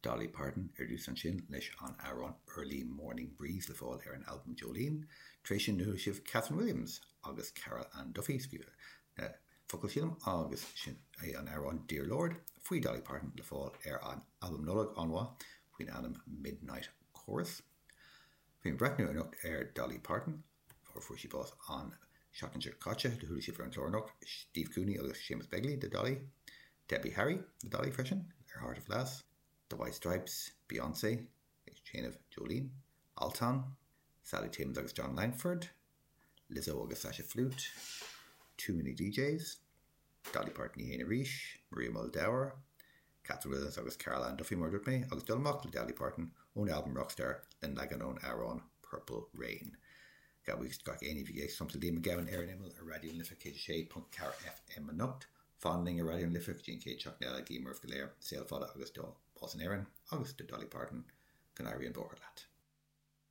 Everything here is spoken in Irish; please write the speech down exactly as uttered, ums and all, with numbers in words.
Dolly Parton ar dtús ansin leis an amhrán Early Morning Breeze le fáil ar an albam Jolene. Tar éis sin chuala sibh Kathryn Williams agus Carol Ann Duffy scríobh na focail sílim agus sin é an amhrán Dear Lord faoi Dolly Parton le fáil ar an albam Nollag an-mhaith faoin ainm Midnight Chorus. Bhí breathnú anocht ar Dolly Parton fuair fuair sí bás an seachtain seo caite do chuala sibh ar an chlár anocht Steve Cooney agus Seamus Begley de Dolly, Debbie Harry de Dolly freisin ar Heart of Glass, The White Stripes, Beyoncé ag déanamh Jolene, Altan, Sally Timms agus Jon Langford, Lizzo agus Sasha Flute, Too Many DJs, Dolly Parton í féin arís, Maria Muldaur, Kathryn Williams agus Carol Ann Duffy mar dúirt mé agus dul amach le Dolly Parton ón album Rockstar le leagan ón amhrán Purple Rain. Gabh gach éinne bhí éisteacht le Liam Mac Gabhann ar an imeall ar Raidió na Life céad sé ponc ceathair FM anocht, Fan linn ar Raidió na Life dtí an chéad seachtain eile guím oraibh go léir saol fada agus dá bás in Éirinn agus do Dolly Parton go n-éirí an bóthar leat.